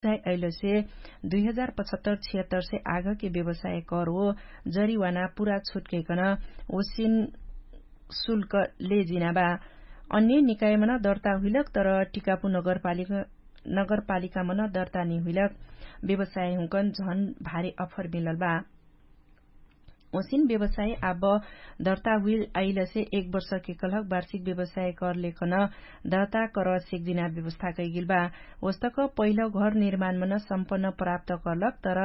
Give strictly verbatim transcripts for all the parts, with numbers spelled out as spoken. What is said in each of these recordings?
अइलसे दुई हजार पचहत्तर छिहत्तर से आगके व्यवसाय कर ओ जरिवाना पुरा छुटकैकन ओसिन शुल्क लेजिना बा। अन्य निकायमन दर्ता हुइलक तर टिकापु नगरपालिका नगरपालिकामन दर्ता निहुइलक व्यवसाय हुँकन झन भारी अफर मिलल बा। ओसिन व्यवसाय आब दर्ता हुइल आइलसे एक वर्षके कलहक वार्षिक व्यवसाय करलेकन दर्ता कर सेक्जिना व्यवस्था कैगिल बा। ओस्तक पहिल घर निर्माणमन सम्पन्न प्राप्त करलक तर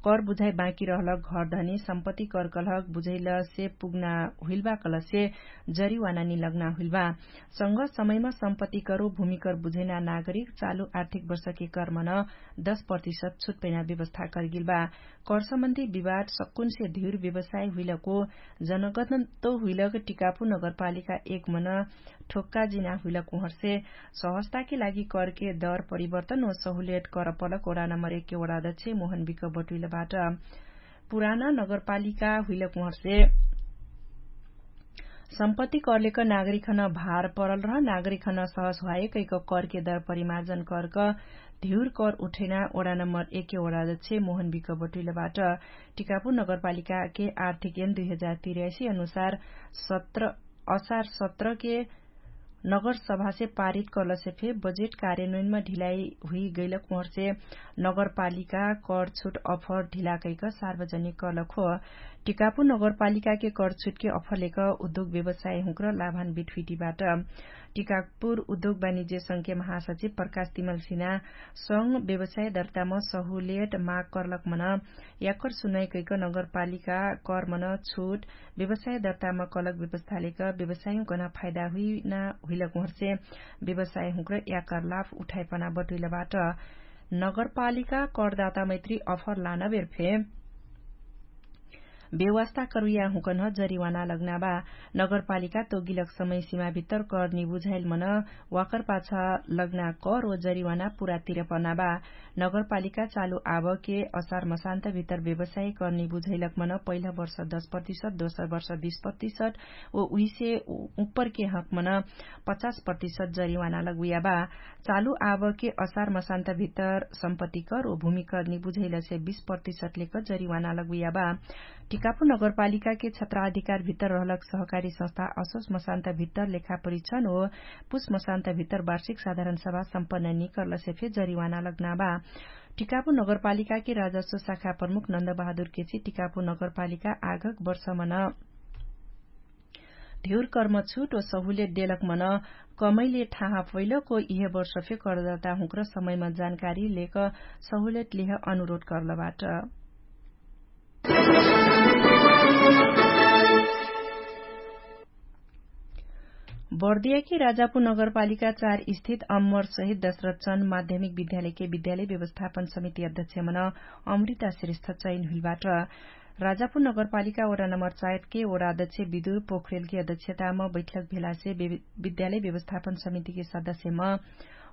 कर बुझाइ बाँकी रहलक घर धनी सम्पत्ति कर कलहक बुझैलसे पुग्ना हुइल बा कलसे जरिवाना निलग्ना हुइल बा। संग समयमा सम्पत्ति करो भूमिकर बुझैना नागरिक चालु आर्थिक वर्षके कर्मन दश प्रतिशत छुटपैना व्यवस्था करगिल बा। करसम्बन्धी विवाद सक्कुनसे धिउर व्यवसाय हुइलको जनगतन्तो हुइलक टिकापु नगरपालिका एकमन ठोक्का जिना हुइलक उहर्से सहस्ताके लागि करके दर परिवर्तन ओ सहुलेट करपलक ओडा नम्बर एकके ओडादछे मोहन बिक बटुइलबाट पुराना नगरपालिका हुइलक उहर्से सम्पत्ति करलेक नागरिकन भार परल रह नागरिकन सहस हुवाए कैक करके दर परिमार्जन करक धिउर कर उठैना ओडा नम्बर एकके ओडादछे मोहन बिक बटुइलबाट टिकापु नगरपालिकाके आर्थिक एन दुई हजार तिरासी अनुसार सत्र असार सत्रके नगरसभासे पारित कलसे फे बजेट कार्यन्वयनमा ढिलाई हुइगैलक उहर्से नगरपालिका करछुट अफर ढिलाकैक सार्वजनिक कलक हो। टिकापु नगरपालिकाके करछुटके अफरलेक उद्योग व्यवसाय हुँक्र लाभान बिठुइटिबाट टिकापुर उद्योग वाणिज्य संख्या महासचिव प्रकाश तिमलसिना संग व्यवसाय दर्ताम सहुलेट माग करलक मन याकर सुनाइ कैक नगरपालिका करमन छुट व्यवसाय दर्ताम कलक व्यवस्थालेक व्यवसायहुँकन फाइदा हुइना हुइलक उहर्से व्यवसायहुँक्र याकर लाभ उठाइपना बटुइलबाट नगरपालिका करदाता मैत्री अफर लानबेर फे व्यवस्था करुइया हुँकन जरिवाना लग्ना बा। नगरपालिका तोगिलक समय सिमाभित्तर कर निबुझाइल मन वाकर पाछ लग्ना कर ओ जरिवाना पुरा तिरपना बा। नगरपालिका चालु आबके असार मसान्तभित्तर व्यवसाय कर निबुझैलक मन पहिला वर्ष दश प्रतिशत दोसर वर्ष बीस प्रतिशत ओ उहिसे उपरके हक मन पचास प्रतिशत जरिवाना लगुइया बा। चालु आबके असार मसान्तभित्तर सम्पत्तिकर ओ भूमिकर निबुझैलसे बीस प्रतिशत लेक जरिवाना लगुइया बा। टिकापु नगरपालिकाके क्षेत्राधिकारभित्तर रहलक सहकारी संस्था असोस मसान्तभित्तर लेखा परिक्षण ओ पुस मसान्तभित्तर वार्षिक साधारण सभा सम्पन्न निकर्लसे फे जरिवाना लग्ना बा। टिकापु नगरपालिकाके राजस्व शाखा प्रमुख नन्द बहादुर केची टिकापु नगरपालिका आगक वर्षमन धिउर कर्म छुट ओ सहुलेट देलक मन कमैले ठाहा फैलक ओ इहे वर्ष फे करदाता हुँक्र समयमा जानकारी लेक सहुलेट लेह अनुरोध कर्लबाट। बर्दियाकी राजापु नगरपालिका चार स्थित अम्मर सहित दशरथ चन माध्यमिक विद्यालयके विद्यालय व्यवस्थापन समिति अध्यक्षमन अमृता श्रेष्ठ चयन हुइलबाट। राजापु नगरपालिका ओडा नम्बर चायतके ओडा अध्यक्ष विदुर पोखरेलके अध्यक्षताम बैठक भेलासे विद्यालय व्यवस्थापन समितिके सदस्यम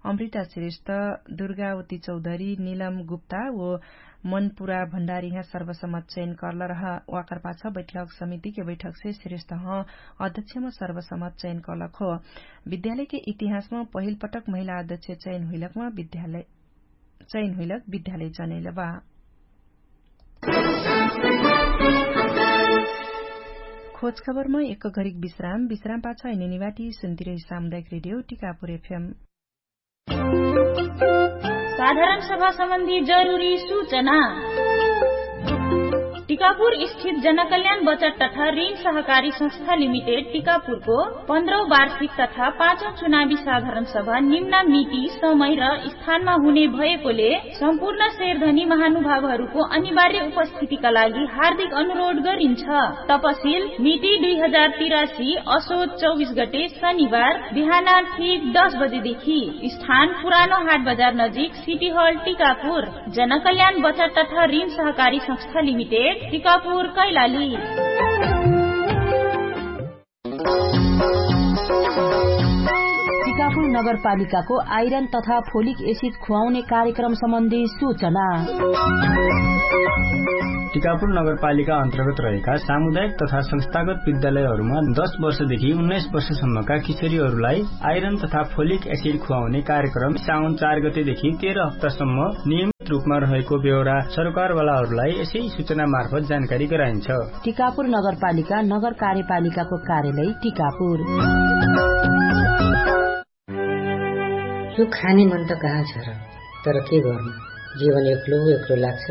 अमृता श्रेष्ठ, दुर्गावती चौधरी, निलम गुप्ता ओ मनपुरा भण्डारीह सर्वसम्मत चयन कर्ल रह। वाकरपाछ बैठक समितिके बैठकसे श्रेष्ठह अध्यक्षम सर्वसम्मत चयन कर्लक हो। विद्यालयके इतिहासम पहिलपटक महिला अध्यक्ष चयन हुइलकम विद्यालय चयन हुइलक विद्यालय जनैल बा। खोजखबरमा एक घरिक विश्राम विश्रामपाछ हैने निवाटी सुन्तिरही सामुदायिक रेडियो टिकापुर एफएम। साधारण सभा सम्बन्धी जरुरी सूचना। टिकापुर स्थित जनकल्याण बचत तथा ऋण सहकारी संस्था लिमिटेड टिकापुरको पन्ध्रौ वार्षिक तथा पाँचौ चुनावी साधारण सभा निम्ना मिति समय र स्थानमा हुने भएकोले सम्पूर्ण शेरधनी महानुभावहरूको अनिवार्य उपस्थितिका लागि हार्दिक अनुरोध गरिन्छ। तपसिल मिति दुई हजार तिरासी असोच चौबिस गते शनिबार बिहान ठीक दश बजेदेखि। स्थान पुरानो हाट बजार नजिक सिटी हल टिकापुर। जनकल्याण बचत तथा ऋण सहकारी संस्था लिमिटेड टिकापुर कैलाली। टिकापुर नगरपालिकाको आइरन तथा फोलिक एसिड खुवाउने कार्यक्रम सम्बन्धी सूचना। टिकापुर नगरपालिका अन्तर्गत रहेका सामुदायिक तथा संस्थागत विद्यालयहरूमा दस वर्षदेखि उन्नाइस वर्षसम्मका किशोरीहरूलाई आइरन तथा फोलिक एसिड खुवाउने कार्यक्रम साउन चार गतेदेखि तेह्र हप्तासम्म नियमित रूपमा रहेको बेहोरा सरकारवालाहरूलाई यसै सूचना मार्फत जानकारी गराइन्छ। टिकापुर नगरपालिका नगर कार्यपालिकाको कार्यालय टिकापुर। यो खाने मन त कहाँ छ र? तर के गर्नु, जीवन एक्लो एक्लो लाग्छ।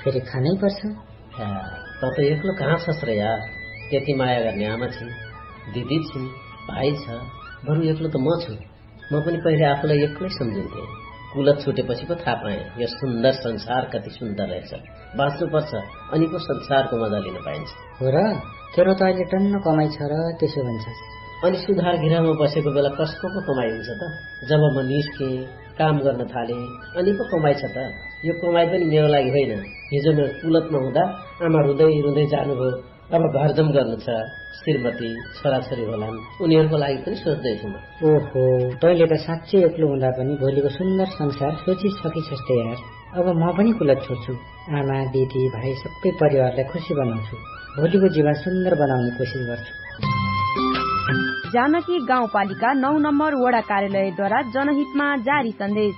फेरि खानै पर्छ। त त एक्लो कहाँ छस् र यार? त्यति माया गर्ने आमा छिन्, दिदी छिन्, भाइ छ। बरु एक्लो त म छु। म पनि पहिले आफूलाई एक्लै सम्झिन्थे। कुलत छुटेपछि पो थाहा पाएँ यो सुन्दर संसार कति सुन्दर रहेछ। बाँच्नुपर्छ, अनि पो संसारको मजा लिन पाइन्छ। हो र? तेरो त अहिले टन्न कमाइ छ र, त्यसो भन्छ। अनि सुधार गृहमा बसेको बेला कसको पो कमाइ हुन्छ त? जब म निस्केँ, काम गर्न थालेँ, अनि पो कमाइ छ त? यो कमाइ पनि मेरो लागि होइन। हिजो म कुलतमा हुँदा आमा रुँदै रुँदै जानुभयो। अब घरजम गर्नु छ, श्रीमती, छोराछोरी होलान्, उनीहरूको लागि पनि सोच्दैछु म। ओहो, तैँले त साँच्चै एक्लो हुँदा पनि भोलिको सुन्दर संसार सोचिसकिसक्छ यार। अब म पनि कुलत छोड्छु। आमा, दिदी, भाइ, सबै परिवारलाई खुसी बनाउँछु। भोलिको जीवन सुन्दर बनाउने कोसिस गर्छु। जानकी गाउँपालिका नौ नम्बर वडा कार्यालयद्वारा जनहितमा जारी सन्देश।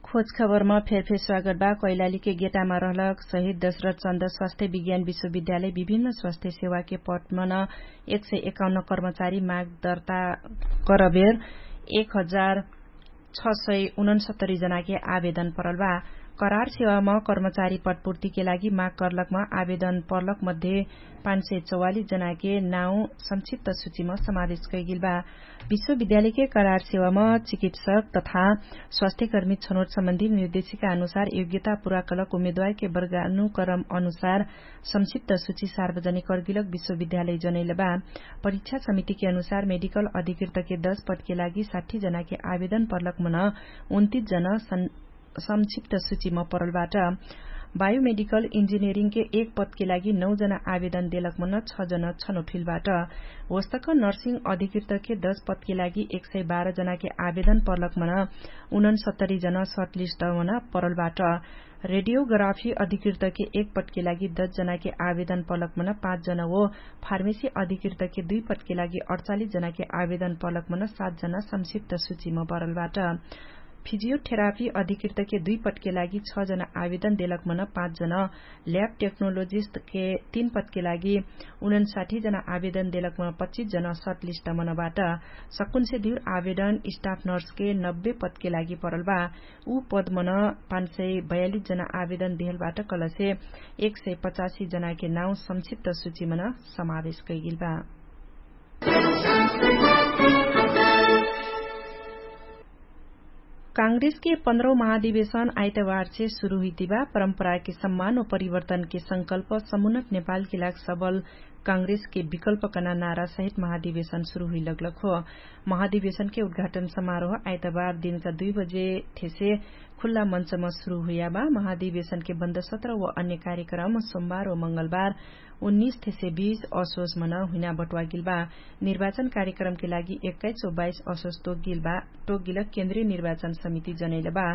खोजखबरमा फेरफेर स्वागत बा। कैलालीके गेटामा रहलक शहीद दशरथ चन्द स्वास्थ्य विज्ञान विश्वविद्यालय विभिन्न स्वास्थ्य सेवाके पटमन एक सय एकाउन्न कर्मचारी माग दर्ता करबेर एक हजार छ सय उनन्सत्तरी जनाके आवेदन परल बा। करार सेवाम कर्मचारी पटपूर्तिके लागि माग कर्लकम आवेदन पर्लक मध्ये पाँच सय चौवालिस जनाके नाउ संक्षिप्त सूचिम समावेश कैगेल बा। विश्वविद्यालयके करार सेवाम चिकित्सक तथा स्वास्थ्यकर्मी छनोट सम्बन्धी निर्देशिका अनुसार योग्यता पुरा कलक उम्मेदवारके वर्गानुकरम अनुसार संक्षिप्त सूची सार्वजनिक कर्गिलक विश्वविद्यालय जनैल बा। परीक्षा समितिके अनुसार मेडिकल अधिकृतके दस पदके लागि साठी जनाके आवेदन पर्लक मन उन्तिस जन संक्षिप्त सूचिम परल बाट। बायोमेडिकल इन्जिनियरिङके एक पदके लागि नौ जना आवेदन देलक मन छ जन छनोठिल बाट। होस्तक नर्सिङ अधिकृतके दस पदके लागि एक सय बाह्र जनाके आवेदन परलक मन उनन्सत्तरी जन सर्टलिस्ट मन परल बाट। रेडियोग्राफी अधिकृतके एक पदके लागि दस जनाके आवेदन परलक मन पाँच जन हो। फार्मेसी अधिकृतके दुई पदके लागि अडचालिस जनाके आवेदन परलक मन सात जन संक्षिप्त सूचिम परल बाट। फिजियोथेरापी अधिकृतके दुई पदके लागि छ जना आवेदन देलक मन पाँच जन। ल्याब टेक्नोलोजिस्टके तीन पदके लागि उनन्साठी जना आवेदन देलक मन पच्चिस जन सर्टलिस्ट मन बाट। सकुन्से दिउर आवेदन स्टाफ नर्सके नब्बे पदके लागि परल बा। उ पद मन पाँच सय बयालिस जना आवेदन देहल बाट कलसे एक सय पचासी जनाके नाउ संक्षिप्त सूची मन समावेश कैगेल बा। काङ्ग्रेसके पन्ध्रौ महाधिवेशन आइतवारसे सुरु हुइतिबा। परम्पराके सम्मान व परिवर्तनके संकल्प समुन्नत नेपालके लाग सबल काङ्ग्रेसके विकल्प कना नारा सहित महाधिवेशन सुरु हुइलगलक हो। महाधिवेशनके उद्घाटन समारोह आइतबार दिनका दुइ बजे थेसे खुल्ला मञ्चमा सुरु हुइयाबा। महाधिवेशनके बन्द सत्र व अन्य कार्यक्रम सोमबार व मंगलबार उन्नीस थेसे बीस असोस मन हुइना बटुवागिल बा। निर्वाचन कार्यक्रमके लागि एक्काइस व बाइस असोस तोकगिल बा। तोकगिल केन्द्रीय निर्वाचन समिति जनैल बा।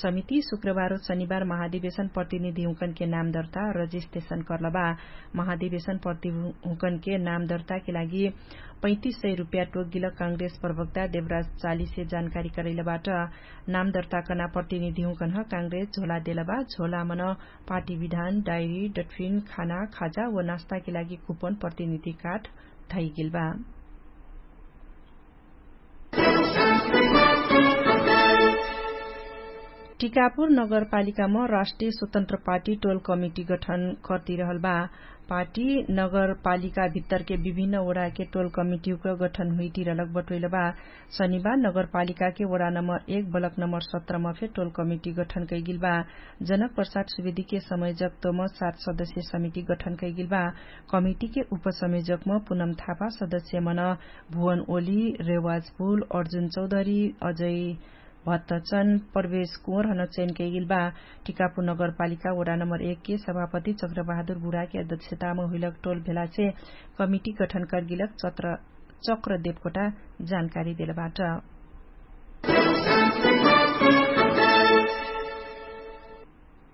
समिति शुक्रबार व शनिबार महाधिवेशन प्रतिनिधिहुँकनके नाम दर्ता रजिस्ट्रेशन कर्ल बा। महाधिवेशन प्रतिनिधिहुँकनके नाम दर्ताके लागि पैँतिस सय रुपैया तोकगिल काङ्ग्रेस प्रवक्ता देवराज चालिसे जानकारी करैल बाट। नाम दर्ता कना प्रतिनिधिहुँकन ह काङ्ग्रेस झोला देल बा। झोला मन पार्टी विधान डायरी डटफिन खाना खाजा व नास्ताके लागि कुपन प्रतिनिधि काट धैगेल बा। टिकापुर नगरपालिकामा राष्ट्रिय स्वतन्त्र पार्टी टोल कमिटी गठन कर्तिरहल बा। पार्टी नगरपालिका भित्तरके विभिन्न ओडाके टोल कमिटीक गठन हुइतिरहलक बटोइल बा। शनिबार नगरपालिकाके वडा नम्बर एक बलक नम्बर सत्रमा फे टोल कमिटी गठन कैगिल बा। जनक प्रसाद सुवेदीके समयजकत्वम सात सदस्य समिति गठन कैगिल बा। कमिटीके उपसमयजकम पुनम थापा सदस्य मन भुवन ओली रेवाजपुल अर्जुन चौधरी अजय भत्तचन प्रवेश कुँवर हन चयन कैगिल बा। टिकापुर नगरपालिका वडा नम्बर एक के सभापति चक्रबहादुर बुढाके अध्यक्षतामा हुइलक टोल भेलासे कमिटी गठन कर्गिलक चक्र देवकोटा जानकारी देलबाट।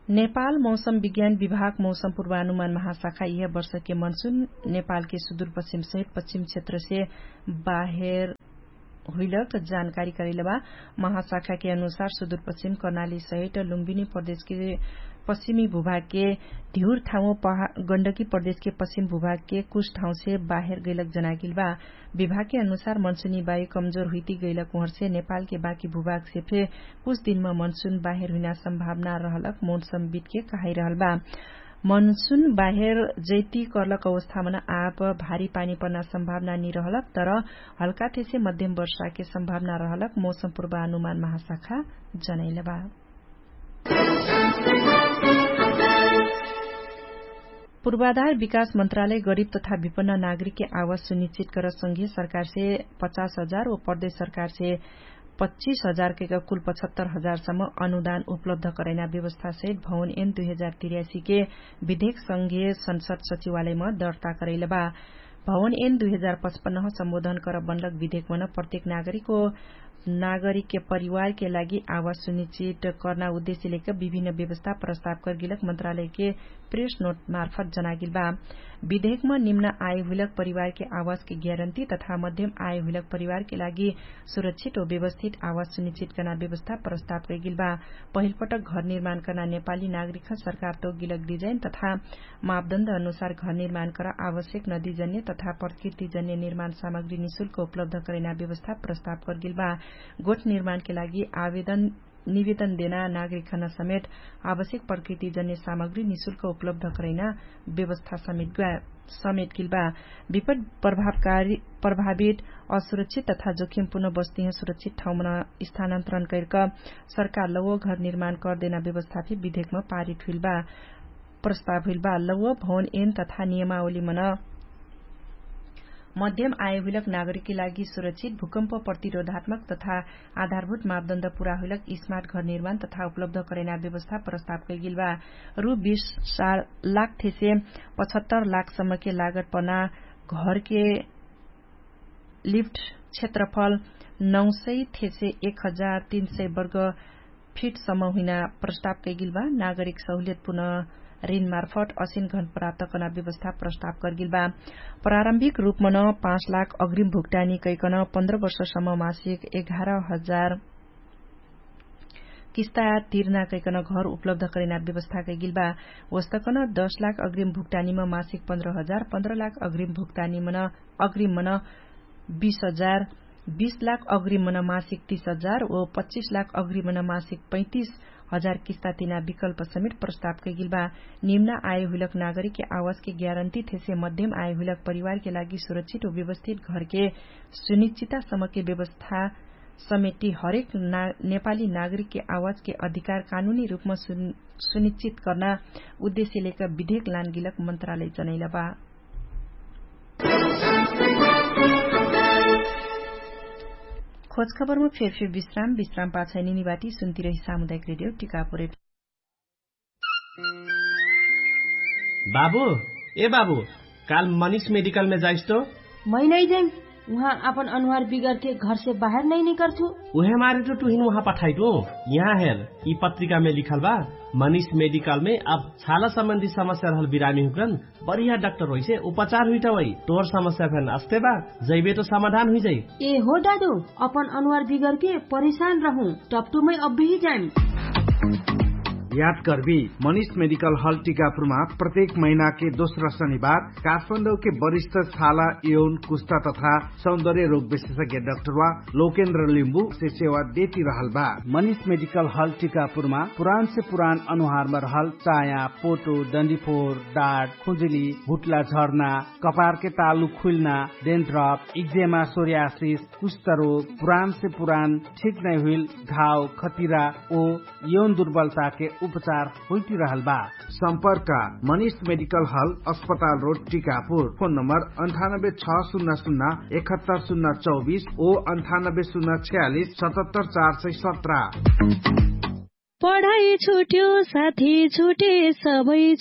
नेपाल मौसम विज्ञान विभाग मौसम पूर्वानुमान महाशाखा यह वर्षके मनसुन नेपालके सुदूरपश्चिम सहित पश्चिम क्षेत्रसे बाहेर हुइलक जानकारी करैलबा। महाशाखाके अनुसार सुदूरपश्चिम कर्णाली सहित लुम्बिनी प्रदेशके पश्चिमी भूभागके धिउर ठाउँ गण्डकी प्रदेशके पश्चिम भूभागके कुछ ठाउँसे बाहेर गैलक जनागिलबा। विभागके अनुसार मनसुनी बायु कमजोर हुइती गैलक उहरसे नेपालके बाकी भूभागसे फे कुछ दिनमा मनसुन बाहेर हुइना सम्भावना रहलक मौसम बिटके कहाइरहल बा। मनसुन बाहेर जैती कर्लक अवस्थामन आप भारी पानी पर्ना सम्भावना निरहलक तर हल्काथेसे मध्यम वर्षाके सम्भावना रहलक मौसम पूर्वानुमान महाशाखा जनैलबा। पूर्वाधार विकास मन्त्रालय गरिब तथा विपन्न नागरिकके आवास सुनिश्चित कर संघीय सरकारसे पचास हजार व प्रदेश सरकारसे पच्चिस हजार कैक कुल पचहत्तर हजार सम्म अनुदान उपलब्ध करैना व्यवस्था सहित भवन एन दुई हजार तिर्यासी के विधेक संघीय संसद सचिवालयमा दर्ता करैलबा। भवन एन दुई हजार पचपन्न सम्बोधन कर बनलक विधेकमन प्रत्येक नागरिक व नागरिकके परिवारके लागि आवास सुनिश्चित कर्ना उद्देश्य लेक विभिन्न व्यवस्था प्रस्ताव करगिलक मन्त्रालयके प्रेस नोट मार्फत जनागिल बा। विधेकमा निम्न आय हुइलक परिवारके आवासके ग्यारन्टी तथा मध्यम आय हुइलक परिवारके लागि सुरक्षित व व्यवस्थित आवास सुनिश्चित कर्ना व्यवस्था प्रस्ताव कैगिल बा। पहिलपटक घर निर्माण कर्ना नेपाली नागरिकह सरकार तोगिलक डिजाइन तथा मापदण्ड अनुसार घर निर्माण कर आवश्यक नदीजन्य तथा प्रकृतिजन्य निर्माण सामग्री निशुल्क उपलब्ध करैना व्यवस्था प्रस्ताव करगिल बा। गोठ निर्माणके लागि आवेदन निवेदन देना नागरिकहन समेत आवश्यक प्रकृतिजन्य सामग्री निशुल्क उपलब्ध करैना व्यवस्था समेट गिल बा। विपट प्रभावित असुरक्षित तथा जोखिमपूर्ण बस्तीह सुरक्षित ठाउँमन स्थानान्तरण कैरक सरकार लौव घर निर्माण करदेना व्यवस्था फे विधेकम पारित हुइल बा। प्रस्ताव हुइल बा लौव भवन एन तथा नियमावलीमन मध्यम आय हुइलक नागरिकके लागि सुरक्षित भूकम्प प्रतिरोधात्मक तथा आधारभूत मापदण्ड पुरा हुइलक स्मार्ट घर निर्माण तथा उपलब्ध करैना व्यवस्था प्रस्ताव कैगिल बा। रु बीस लाख थेसे पचहत्तर लाख सम्मके लागत पर्ना घरके लिफ्ट क्षेत्रफल नौ सय थेसे एक हजार तीन सय वर्ग फिट सम्म हुइना प्रस्ताव कैगिल बा। नागरिक सहुलियत पुनः ऋण मार्फत असिन घन प्राप्त कर्ना व्यवस्था प्रस्ताव करगिल बा। प्रारम्भिक रूपमन पाँच लाख अग्रिम भुक्तानी कैकन पन्ध्र वर्षसम्म मासिक एघार हजार किस्ता तिर्ना कैकन घर उपलब्ध करैना व्यवस्था कैगिल बा। वस्तकन दस लाख अग्रिम भुक्तानीम मासिक पन्ध्र हजार पन्ध्र लाख अग्रिम भुक्तानीमन अग्रिम मन बीस हजार बीस लाख अग्रिम मन मासिक तीस हजार व पच्चिस लाख अग्रिम मन मासिक पैँतिस हजार किस्ता तिना विकल्प समेट प्रस्ताव कैगिल बा। निम्न आय हुइलक नागरिकके आवासके ग्यारन्टी थेसे मध्यम आय हुइलक परिवारके लागि सुरक्षित व व्यवस्थित घरके सुनिश्चिता समके व्यवस्था समेटी हरेक नेपाली नागरिकके आवासके अधिकार कानुनी रूपमा सुनिश्चित कर्ना उद्देश्य लेक विधेक लानगिलक मन्त्रालय जनैल बा। खोजखबरमा फेरफेर विश्राम विश्राम पाछाइ निनिबाटी सुन्तिरही सामुदायिक रेडियो टिकापुर एफएम। बाबु, ए बाबु, काल मनिष मेडिकलमे जाइस्तो। मै नै जैम। उहाँ आपन अनुहार बिगरके घरसे बाहेर नै निकर्छु। उहे मारे त तुहिन उहाँ पठाइटु। यहाँ हेर, यि पत्रिकामे लिखल बा, मनिष मेडिकलमे अब छाला सम्बन्धी समस्या रहल बिरामी हुकरन बढिया डाक्टर होइसे उपचार हुइटवै। तोर समस्या फेन अस्ते बा, जैबे त समाधान हुइजै। ए हो दादु, अपन अनुहार बिगरके परिशान रहु। टप्टुमै अब्बही जाइम। याद कर्बी, मनिष मेडिकल हल टिकापुरमा प्रत्येक महिनाके दोस्रा शनिबार काठमाडौके वरिष्ठ छाला यौन कुस्ता तथा सौन्दर्य रोग विशेषज्ञ डाक्टरवा लोकेन्द्र लिम्बु से सेवा देती रहल बा। मनिष मेडिकल हल टिकापुरमा पुरान से पुरान अनुहारमा रहल चाया, पोटो, डन्डीफोर, डाट, खुजुली, भुट्ला झर्ना, कपारके तालु खुइल्ना, डेन्ड्रप, इक्जेमा, सोर्यासिस, कुष्ठरोग, पुरान से पुरान ठीक नै हुइल घाव, खतिरा ओ यौन दुर्बलताके उपचार होइटिरहल बा। सम्पर्क मनिष्ठ मेडिकल हल, अस्पताल रोड टिकापुर। फोन नम्बर अन्ठानब्बे छ सुन्ना सुन्ना एकहत्तर सुन्ना चौबिस ओ अन्ठानब्बे सुन्ना छ्यालिस सतहत्तर चार सय सत्र। पढाइ छुट्यो साथी छुटे सबै